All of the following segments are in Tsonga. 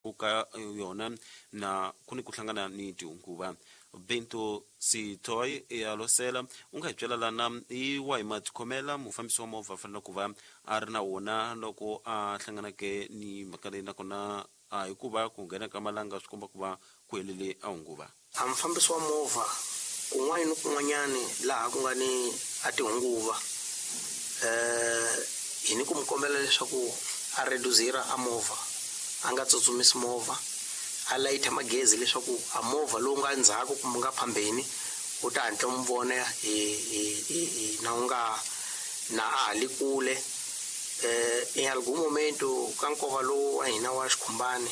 Ku ka yona na ku ni ku hlangana ni tinguva. Bento Sithoy ya Losela, u nga hi byela lana hi wahi matikhomela mufambisi wa movha a fanele ku va a ri na wona loko a hlanganake ni mhaka leyi, nakona a hikuva ku nghena ka malanga swi komba ku va ku helele a hunguva? A mufambisi wa movha kun'wana ni kun'wanyani laha ku nga ni a tihunguva, hi ni ku mi kombela leswaku a reduzira a movha, a nga tsutsumisi movha, a layitha magezi leswaku a movha lowu nga ndzhaku kumbe nga phambeni wu ta hatla wu mi vona hi hi hi hi na wu nga na a ha li kule. Em algum momento ka nkova lowu wa hina wa xikhumbani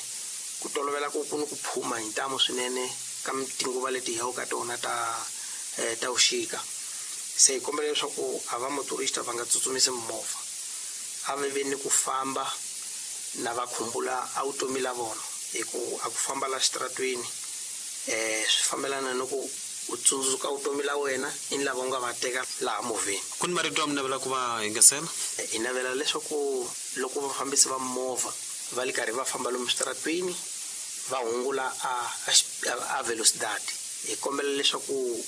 ku tolovela ku ku ni ku phuma hi ntamu swinene ka tinguva leti hi yaka ka tona ta ta vuxika. Se hi kombela leswaku a va motorista va nga tsutsumisi mimovha, a va ve ni ku famba na va khumbula a vutomi la vona hi ku a ku famba la xitaratweni swi fambelana ni ku u tsundzuka vutomi la wena i ni lava u nga va teka laha movheni. Ku ni marito ya mi navela ku va yingisela? Hi navela leswaku loko vafambisi va mimovha va li karhi va famba lomu switaratweni va hungula a a velocidade. Hi kombela leswaku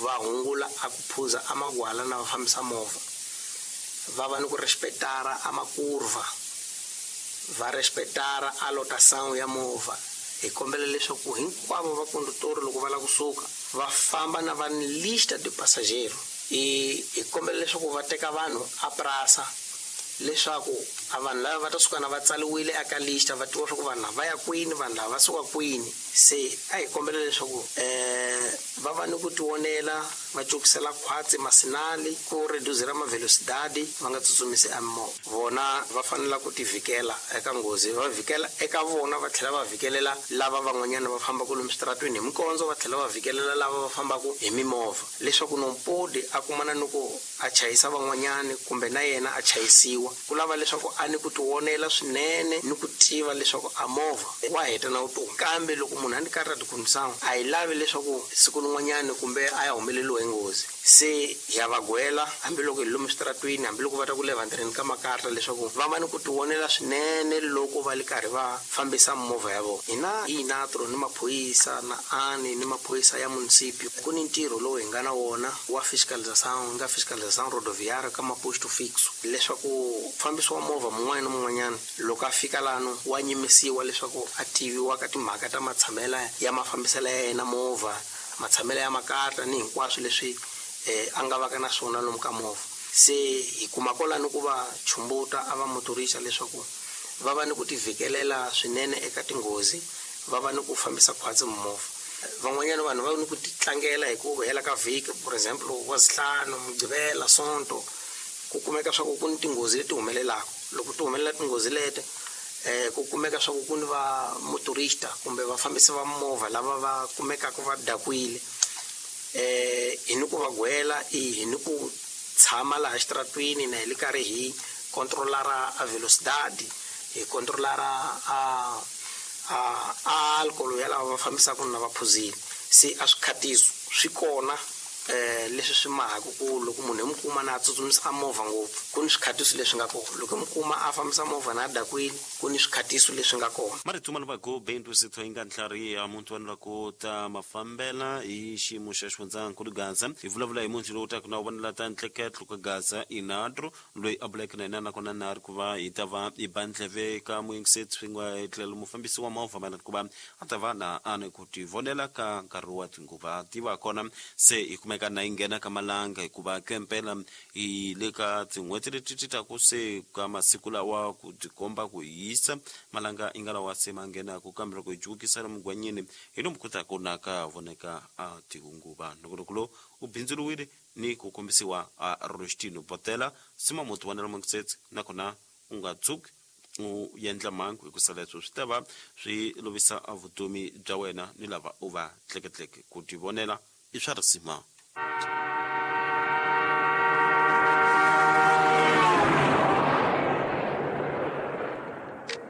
va hungula a ku phuza a magwala na va fambisa movha. Va va ni ku respetara a makurva, va respetara a lotação ya movha. Hi kombela leswaku hinkwavo va kondutori loko va lava ku suka va famba na va ni lista de passageiro. Hi hi kombela leswaku va teka vanhu a prasa leswaku a vanhu lava va ta suka na va tsaliwile aka lista va tiva swa ku vanhu lava va ya kwini, vanhu lava va suka kwini. Se a hi kombela leswaku va va ni ku tivonela, va cokisela khwatsi masinali, ku reduzira mavelosidadi, va nga tsutsumisi a mimovha. Vona va fanela ku tivhikela eka nghozi, va vhikela eka vona va tlhela va vhikelela lava van'wanyana va fambaka lomu switaratweni hi mikondzo, va tlhela va vhikelela lava va fambaka hi mimovha, leswaku nompodi a kumana ni ku a chayisa van'wanyana kumbe na yena a chayisiwa. Ku lava leswaku a ni ku tivonela swinene ni ku tiva leswaku a movha wa heta na vutomi. Kambe loko munhu a ni karhi a tikhomisa, a hi lavi leswaku siku lin'wanyana kumbe a ya humeleriwa hi nghozi. Se ha va gwela hambiloko hi lomu switaratwini, hambiloko va ta ku le vantirheni ka makarta leswaku va va ni ku tivonela swinene loko va li karhi va fambisa mimovha ya vona. Hina hi Inatro ni maphorisa na ani ni maphorisa ya munisipio, ku ni ntirho lowu hi nga na wona wa fiscalização, nga fiscalização rodoviária ka maposto fixo, leswaku mufambisi wa movha mun'wana ni mun'wanyana loko a fika lano wa nyimisiwa leswaku a tiviwa ka timhaka ta matshamela ya mafambiselo ya yena movha, matshamelo ya makarta ni hinkwaswo leswi a nga vaka na swona lomu ka movha. Se hi kuma kwalano ku va chumbuta a va motorisa leswaku va va ni ku tivhikelela swinene eka tinghozi, va va ni ku fambisa khwatsi mimovha. Van'wanyana vanhu va ni ku titlangela hi ku hela ka vhiki, for example, Wazihlanu, Mugqivela, Sonto, ku kumeka swa ku ku ni tinghozi leti humelelaka. Loko ti humelela tinghozi leti, ku kumeka swa ku ku ni va motorista kumbe vafambisi va mimovha lava va kumekaka va dakwile. Hi ni ku va gwela, hi ni ku tshama laha xitaratwini na hi li karhi hi controlara a velocidade, hi controlara a a a alcohol ya lava va fambisaka na va phuzile. Se a swikhatiso swi kona leswi swi mahaka ku loko munhu hi mi kuma na a tsutsumisa a movha ngopfu, ku ni swikhatiso leswi nga kona. Loko hi mi kuma a fambisa movha na a dakwile, ku ni swikhatiso leswi nga kona. Marito ma lavaku Bento Sithoinga Ntlhariha, muntu wa lavaku ta mafambela hi xiyimo xa xifundzankulu Gaza. Hi vulavula hi muntu lowu taka na wu vonela ta ntleketlo ka Gaza, Inadro, loyi a buleke na hina nakona na ri ku va hi ta va hi ba ndleve ka muyingiseri swin'we tlhelo mufambisi wa movha mayelana ku va a ta va na a ni ku tivonela ka nkarhi wa tinguva ti va kona. Se hi kumeka na yi nghena ka malanga hikuva kempela hi le ka tin'hweti leti ti taku, se ka masiku lawa ku tikomba ku hisa malanga yi nga lawa se ma nghenaku, kambe loko hi jukisa lomu gwanyini hi lomu ku taku na ka voneka a tihunguva. Nongonoko lowu wu bindzuriwile ni ku kombisiwa a Rostino Botela sima muti wa Nelmonksets, nakona u nga tshuki u yendla mhangu, hikusa leswo swi ta va swi lovisa vutomi bya wena ni lava u va tleketleke. Ku tivonela i swa risima.